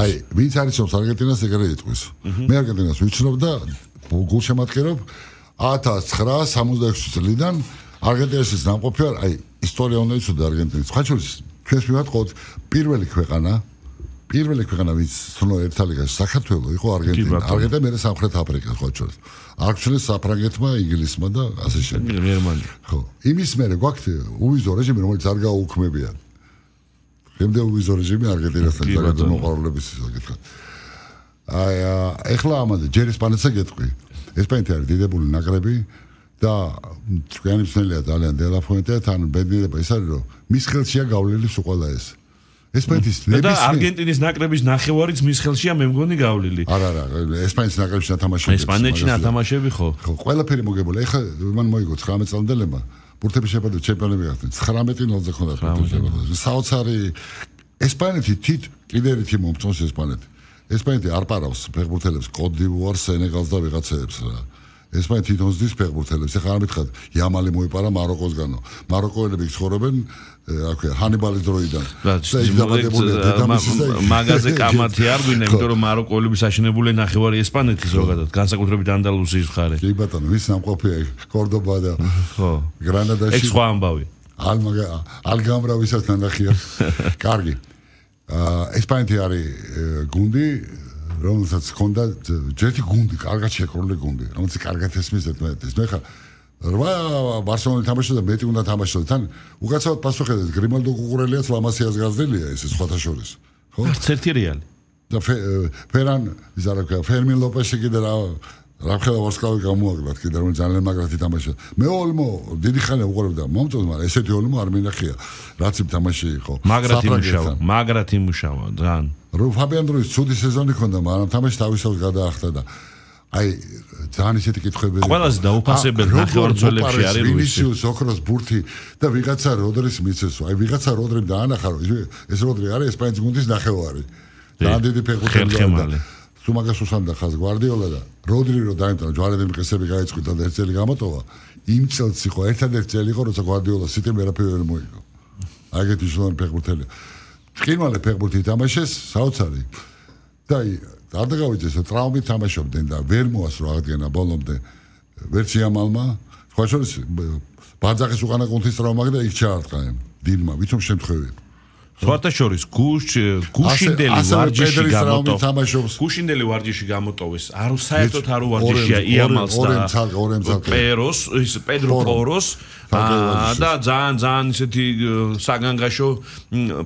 აი, ვინც არის ობს არგენტინას ეგრე იტყვის. მე არგენტინას ვიცნობ და გულშემატკივრობ 1966 წლიდან არგენტინაში ნამყოფი ვარ, აი, ისტორია უნდა იცოდე არგენტინის. სხვა შორის ჩვენს მიმართ ყოთ პირველი ქვეყანა ვინც ცნო ერთა ლიგაში საქართველო იყო არგენტინა. არგენტინა მე სამხრეთ აფრიკა სხვა შორის. არჩევნეს საფრანგეთმა, ინგლისმა და ასე შემდეგ. გერმანია. ხო, იმის მერე გვაქვს უვიზო რეჟიმი, რომელიც არ გაუქმებია. შემდეგ უვიზო რეჟიმი არგენტინასთან საკუთარ მოყარლების საკითხად. აი, ეხლა ამაზე ჯერ ესპანეთსა გეტყვი. ესპანეთი არის დიდებული ნაკრები და თქვენი მსმენელია ძალიან დელაფონტე თან ბედნიერება ის არის რომ მის ხელშია გავლილი უყვალა ეს. ესპანეთის და არგენტინის ნაკრების ნახევარიც მის ხელშია მე მგონი გავლილი. არა, ესპანეთის ნაკრებში ნათამაშები. ესპანეთში ნათამაშები ხო? ხო, ყველაფერი მოგებული. ეხლა მან მოიგო 19 წლამდელებმა ბურთების შეფარდა ჩემპიონები გახდნენ. 19-0-ზე ხონდა ბურთები. საოცარი ესპანეთი თით კიდე ერთი მომწონს ესპანეთი. ესპანეთი არ პარავს ფეხბურთელებს კოდ დივუარს, სენეგალს და ვიღაცებს რა. ესპანეთი თვითონ ზდის ფეხბურთელებს. ეხლა არ მითხრათ, იამალი მოიპარა მაროკოსგანო. მაროკოელები ცხოვრობენ აქვე ჰანიბალის დროიდან. მაგაზე კამათი არ გვინდა, იმიტომ რომ მაროკოელები საშინებული ნახევარი ესპანეთის ზოგადად, განსაკუთრებით ანდალუსიის მხარე. კი ბატონო, ვის ნამყოფია კორდობა და ხო. გრანადაში. ეგ სხვა ამბავი. ალგამრა ვისაც ნახია. კარგი. ესპანეთი არის გუნდი, რომელსაც ჰქონდა ჯერთი გუნდი, კარგად შეკრული გუნდი, რომელიც კარგად ესმის ერთმანეთს. მე ხა ბარსელონი თამაშობდა და მეტი უნდა თამაშობდა. თან უკაცრავად პასუხებდა გრიმალდო კუკურელიაც ლამასიას გაზრდილია ეს სხვათა შორის. ხო? არც ერთი რეალი. და ფერან იზარაკა ფერმინ ლოპესი კიდე რა ხელა ვარსკვლავი გამოაგდათ კიდე რომ ძალიან მაგრად ითამაშა. მე ოლმო დიდი ხანი უყურებდა მომწონს, მაგრამ ესეთი ოლმო არ მინახია. რაც იმ თამაში იყო. მაგრად იმუშავა ძალიან. რო ფაბიან დროის ცუდი სეზონი ქონდა, მაგრამ თამაში თავისთავად გადაახტა და აი ძალიან ისეთი კითხვები. ყველაზე დაუფასებელი ნახევარმცველებში არის ვინისიუს, ოქროს ბურთი და ვიღაცა როდრის მიცესო. აი ვიღაცა როდრიმ დაანახა, რომ ეს როდრი არის ესპანეთის გუნდის ნახევარი. ძალიან დიდი ფეხბურთელი. სუმაგას უსანდა ხაზ გვარდიოლა და როდრი რო დაემტა ჯვარედები მყესები გაიწყვიტა და ერთ წელი გამოტოვა. იმ წელს იყო ერთადერთი წელი იყო, როცა გვარდიოლა სიტიმ ვერაფერი მოიგო. აგეთი შლოანი ფეხბურთელი. ჭკინვალე ფეხბურთი თამაშეს, საოცარი. და არ დაგავიძეს, ტრავმით თამაშობდნენ და ვერ მოასრო აღდგენა ბოლომდე. ვერც იამალმა, სხვა შორის ბაძახის უკანა კუნთის ტრავმა და იქ ჩაარტყა დილმა, ვიცომ შემთხვევი. სხვათა შორის გუშინდელი ვარჯიში გამოტოვეს. არ საერთოდ არ ვარჯიშია იამალს და პეროს, ის პედრო პოროს და ძალიან ისეთი საგანგაშო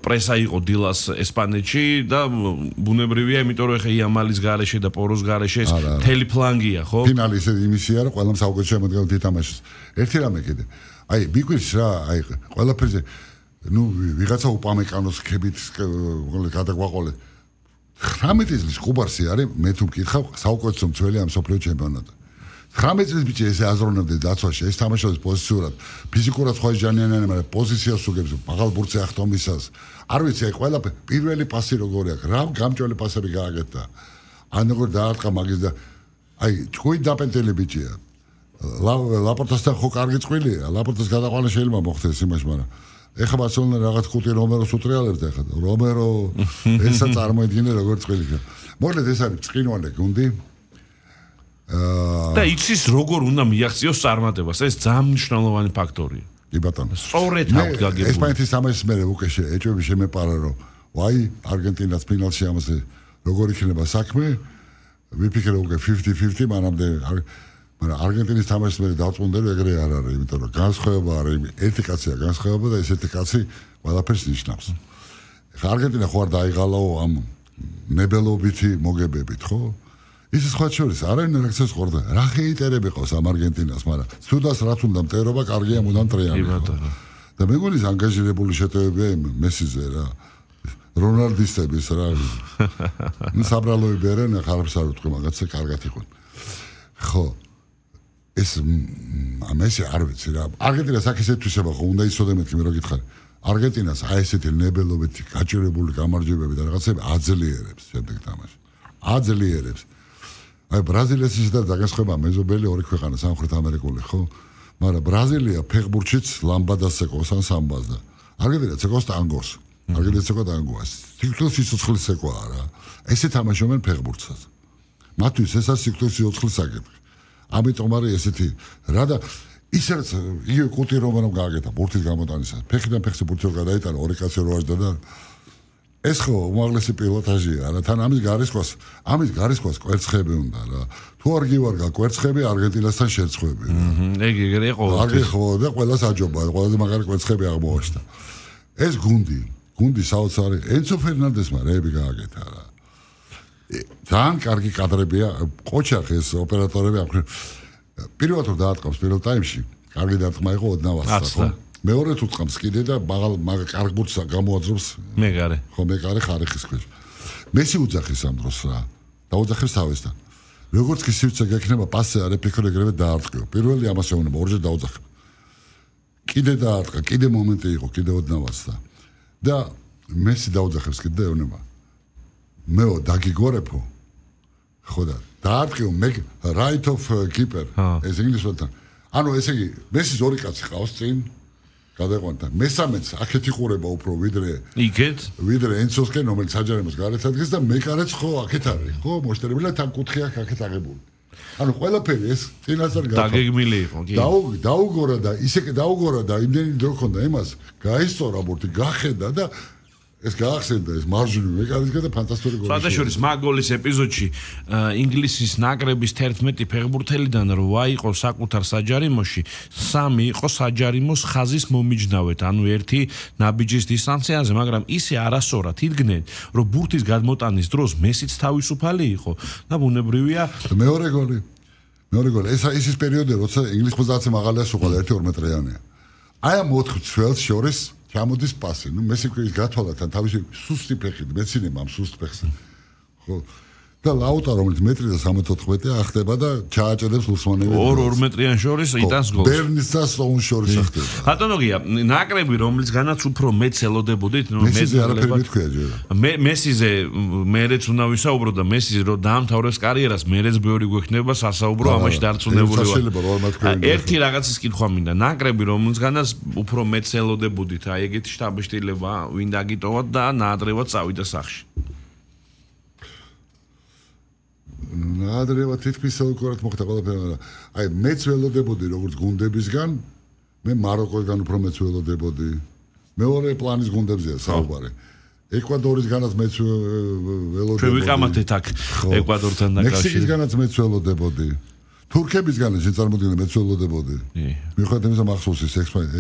პრესა იყო დილას ესპანეთში და ბუნებრივია, იმიტომ რომ ეხა იამალის გარეშე და პოროს გარეშე მთელი ფლანგია, ხო? ფინალი ისეთი იმისია, რომ ყველამ საუკეთესო შემოდგენილ ითამაშეს. ერთი რამე კიდე. აი, მიგვირს რა, აი, ყველაფერზე ნუ ვიღაცა უპამეკანოს ხებით გადაგვაყოლე 19 წლის კუბარსი არის მე თუ მკითხავ საუკეთესო მცველი ამ სოფლიო ჩემპიონატზე 19 წლის ბიჭი ესე აზროვნებდა დაცვაში ეს თამაშობს პოზიციურად ფიზიკურად სხვა ჟანიანიანა მაგრამ პოზიციას უგებს ბაღალ ბურთზე ახტომისას არ ვიცი აი ყველაფერი პირველი პასი როგორი აქვს რა გამჭველი პასები გააკეთა ან როგორ დაარტყა მაგის და აი თქვი დაპენტელი ბიჭია ლაპორტასთან ხო კარგი წყვილია ლაპორტას გადაყვანა შეიძლება მოხდეს იმაში მაგრამ ეხლა ბარსელონა რაღაც ხუთი რომეროს უტრიალებს ეხლა რომერო ესა წარმოედგინე როგორც წყვილი. მოკლედ ეს არის ჭკინვალე გუნდი. და იცის როგორ უნდა მიაღწიოს წარმატებას. ეს ძალიან მნიშვნელოვანი ფაქტორია. კი ბატონო. სწორედ აქვს გაგებული. ესპანეთის თამაშის მერე უკვე ეჭვები შემეპარა რომ ვაი არგენტინას ფინალში ამაზე როგორ იქნება საქმე. ვიფიქრე უკვე 50-50 მანამდე მაგრამ არგენტინის თამაშის მერე დავწუნდა რომ ეგრე არ არის, იმიტომ რომ განსხვავება არის, ერთი კაცია განსხვავება და ესეთი კაცი ყველაფერს ნიშნავს. ხა არგენტინა ხო არ დაიღალაო ამ ნებელობითი მოგებებით, ხო? ის სხვა შორის არავინ რაქცევს ყორდა. რა ჰეიტერები ყავს ამ არგენტინას, მაგრამ თუდას რაც უნდა მტერობა, კარგია მუდამ ტრიანი. და მეგონის ანგაჟირებული შეტევებია მესიზე რა. რონალდისტების რა. ნუ საბრალოები არიან, ხარებს არ ვთქვი, მაგაცა კარგად იყო. ხო ეს ამასე არ ვიცი რა. არგენტინას აქ ესეთ თვისება ხო უნდა იცოდე მეთქი მე რო გითხარი. არგენტინას აი ესეთი ნებელობითი გაჭირებული გამარჯვებები და რაღაცები აძლიერებს შემდეგ თამაში. აძლიერებს. აი ბრაზილიას და დაგასხვება მეზობელი ორი ქვეყანა სამხრეთ ამერიკული ხო? მაგრამ ბრაზილია ფეხბურთშიც ლამბადას ეკოს ან სამბას და არგენტინა ეკოს ტანგოს. არგენტინას ეკვა დაანგოას. სიკვდილის სიცოცხლის ეკვა რა. ესე თამაშობენ ფეხბურთსაც. მათთვის ეს არის სიკვდილის სიცოცხლის საკითხი. ამიტომ არის ესეთი რა და ისაც იგივე კუტი რომ გააკეთა ბურთის გამოტანისას. ფეხიდან ფეხზე ბურთი რო გადაიტანა, ორი კაცი რო აღდა და ეს ხო უმაღლესი პილოტაჟია რა. თან ამის გარისხვას კვერცხები უნდა რა. თუ არ გივარგა კვერცხები არგენტინასთან შერწყვები რა. ეგრე იყო. კარგი ხო და ყველას აჯობა, ყველაზე მაგარი კვერცხები აღმოაჩნდა. ეს გუნდი საოცარი ენცო ფერნანდესმა რეები გააკეთა რა. ძალიან კარგი კადრებია, ყოჩახეს ოპერატორები აქვს. პირველად რომ დაატყავს პირველ ტაიმში, კარგი დარტყმა იყო ოდნავასთან, ხო? მეორე თუ ტყამს კიდე და კარგ ბურთს გამოაძრობს. მეგარე. ხო, მეგარე ხარიხის ქვეშ. მესი უძახის ამ დროს რა. დაუძახებს თავისთან. როგორც კი სივრცე გექნება პასზე არ ეფიქრო ეგრევე დაარტყიო. პირველი ამას ეუბნება, ორჯერ დაუძახებ. კიდე დაარტყა, კიდე მომენტი იყო, კიდე ოდნავასთან. და მესი დაუძახებს კიდე ეუბნება. მეო დაგიგორებო. ხო და დაარტყიო right of keeper. ეს ინგლისურად. ანუ ესე იგი, მესის ორი კაცი ყავს წინ. გადაყვანდა. მესამეც აქეთ იყურება უფრო ვიდრე ენცოსკენ, რომელიც საჯარიმოს გარეთ ადგეს და მეკარეც ხო აქეთ არის, ხო? მოშტერებილა თან კუთხეა აქეთ აღებული. ანუ ყველაფერი ეს წინასწარ დაგეგმილი იყო, კი. დაუგორა და ისე დაუგორა და იმდენი დრო ქონდა იმას, გაისწორა ბურთი, გახედა და ეს გაახსენდა ეს მარჯვნივ მეკარისგან და ფანტასტიკური გოლი. საერთაშორის მაგოლის ეპიზოდში ინგლისის ნაკრების 11 ფეხბურთელიდან 8 იყო საკუთარ საჯარიმოში, 3 იყო საჯარიმოს ხაზის მომიჯნავეთ, ანუ ერთი ნაბიჯის დისტანციაზე, მაგრამ ისე არასწორად იდგნენ, რომ ბურთის გადმოტანის დროს მესიც თავისუფალი იყო და ბუნებრივია მეორე გოლი. ეს ის პერიოდი, როცა ინგლისს 90-ზე მაღალია სუყალა 1-2 მეტრიანია. აი ამ 4 ცველს შორის ჩამოდის პასი. ნუ მესი ქვის გათვალათან თავისი სუსტი ფეხით მეცინება ამ სუსტ ფეხზე. ხო. და ლაუტა რომელიც 1.74 ახტება და ჩააჭედებს ლუსმანები. 2 მეტრიან შორის იტანს გოლს. ბერნის და სტოუნს შორის ახტება. ბატონოგია, ნაკრები რომლისგანაც უფრო მეც ელოდებოდით, მესიზე არაფერი მეთქვია ჯერ. მესიზე მერეც უნდა ვისაუბრო და მესი რომ დაამთავრებს კარიერას, მერეც ბევრი გვექნება სასაუბრო, ამაში დარწმუნებული ვარ. ერთი რაღაცის კითხვა მინდა, ნაკრები რომლისგანაც უფრო მეც ელოდებოდით, აი ეგეთი შტაბ-შტილება, ვინ დაგიტოვათ და ნაადრევად წავიდა სახში. ნაადრევად თითქმის საუკეთესოდ მოხდა ყველაფერი, მაგრამ აი მეც ველოდებოდი როგორც გუნდებისგან, მე მაროკოსგან უფრო მეც ველოდებოდი. მეორე პლანის გუნდებზეა საუბარი. ეკვადორისგანაც მეც ველოდებოდი. ჩვენ ვიყამათეთ აქ ეკვადორთან დაკავშირებით. მექსიკისგანაც მეც ველოდებოდი. თურქებისგანაც შეწარმოდგენილი მეც ველოდებოდი. მიუხედავად იმისა მახსოვსის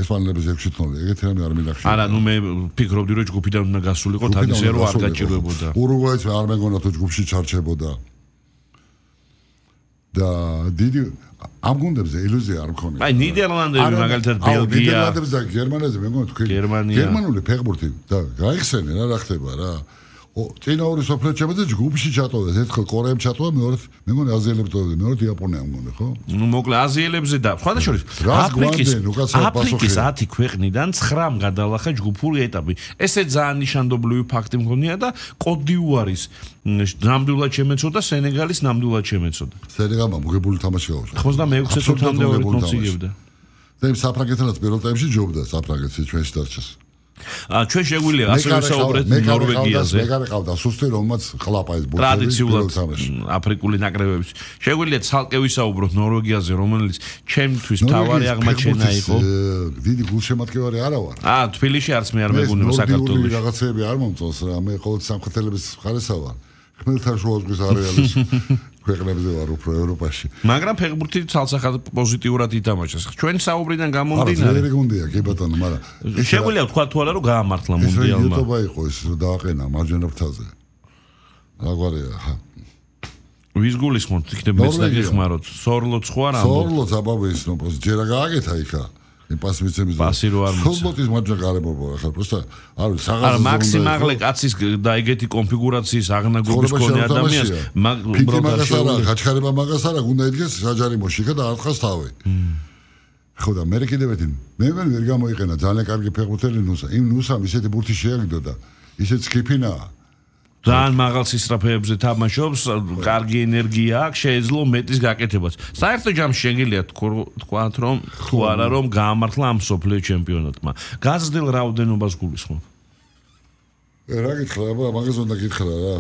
ესპანელების 6-0, ეგეთი რამე არ მინახშია. არა, ნუ მე ფიქრობდი რომ ჯგუფიდან უნდა გასულიყო, თან ისე რომ არ გაჭირვებოდა. ურუგვაიც არ მეგონა თუ ჯგუფში ჩარჩებოდა. და დიდი ამ გუნდებზე ილუზია არ მქონია. აი ნიდერლანდები მაგალითად ბელგია. ნიდერლანდებს და გერმანიაზე მეგონა თქვენ გერმანული ფეხბურთი და გაიხსენენ რა ხდება რა. წინა ორი სოფლიო ჩემპიონატზე ჯგუფში ჩატოვეს. ერთხელ კორეამ ჩატოვა, მეორედ მეგონა აზიელებს ტოვებდა, მეორედ იაპონია მგონი, ხო? ნუ მოკლე აზიელებზე და სხვადასხვა აფრიკის 10 ქვეყნიდან 9 გადალახა ჯგუფური ეტაპი. ესე ძალიან ნიშანდობლივი ფაქტი მგონია და კოტ-დიუარის ნამდვილად შემეცოდა, სენეგალის ნამდვილად შემეცოდა. სენეგალმა მოგებული თამაში გაუსწრო. 96 წუთამდე 2 ნოც იგებდა. და იმ საფრანგეთთანაც პირველ ტაიმში ჯობდა საფრანგეთში ჩვენში დარჩეს. ჩვენ შეგვიძლია ასე ვისაუბრეთ ნორვეგიაზე. მეგარე ყავდა სუსტი, რომელმაც ყლაპა ეს ბურთები ტრადიციულად აფრიკული ნაკრებების. შეგვიძლია ცალკე ვისაუბროთ ნორვეგიაზე, რომელიც ჩემთვის თავარი აღმაჩენა იყო. დიდი გულშემატკივარი არა ვარ. თბილისში არც მე არ მეგონება საქართველოში. რაღაცეები არ მომწონს რა, მე ყოველ სამხეთელების მხარესა ვარ. ხმელთაშუა ზღვის არეალის ქვეყნებზე ვარ უფრო ევროპაში. მაგრამ ფეხბურთი ცალსახად პოზიტიურად ითამაშეს. ჩვენ საუბრიდან გამომდინარე. არა, გუნდია, კი ბატონო, მაგრამ შეგვიძლია თქვა თუ არა რომ გაამართლა მუნდიალმა. ეს YouTube იყო ეს დააყენა მარჯვენა ფრთაზე. რაგვარია. ვის გულისხმობთ, იქნებ მეც დაგეხმაროთ. სორლოც ხო არა? სორლოც აბაბის ნოპოს ჯერა გააკეთა იქა. პასი მიცემის. პასი რო არ მიცემ. სორლოტის მარჯვენა გარემოება ახლა პროსტა არ ვიცი საღამოზე. არა, მაქსიმალე კაცის და ეგეთი კონფიგურაციის აღნაგობის მქონე ადამიანს უბრალოდ გაჩქარება მაგას არა, უნდა იდგეს საჯარიმოში და ათხას თავი. ხო და მე კიდევ ერთი მე ვერ გამოიყენა ძალიან კარგი ფეხბურთელი ნუსა. იმ ნუსამ ისეთი ბურთი შეაგდო და ისეთ სკიფინაა. ძალიან მაღალ სისწრაფეებზე თამაშობს, კარგი ენერგია აქვს, შეეძლო მეტის გაკეთებაც. საერთო ჯამში შეგიძლია თქვათ რომ თუ არა რომ გაამართლა ამ სოფლიო ჩემპიონატმა. გაზრდილ რაოდენობას გულისხმობ. რა გითხრა, მაგას უნდა გითხრა რა.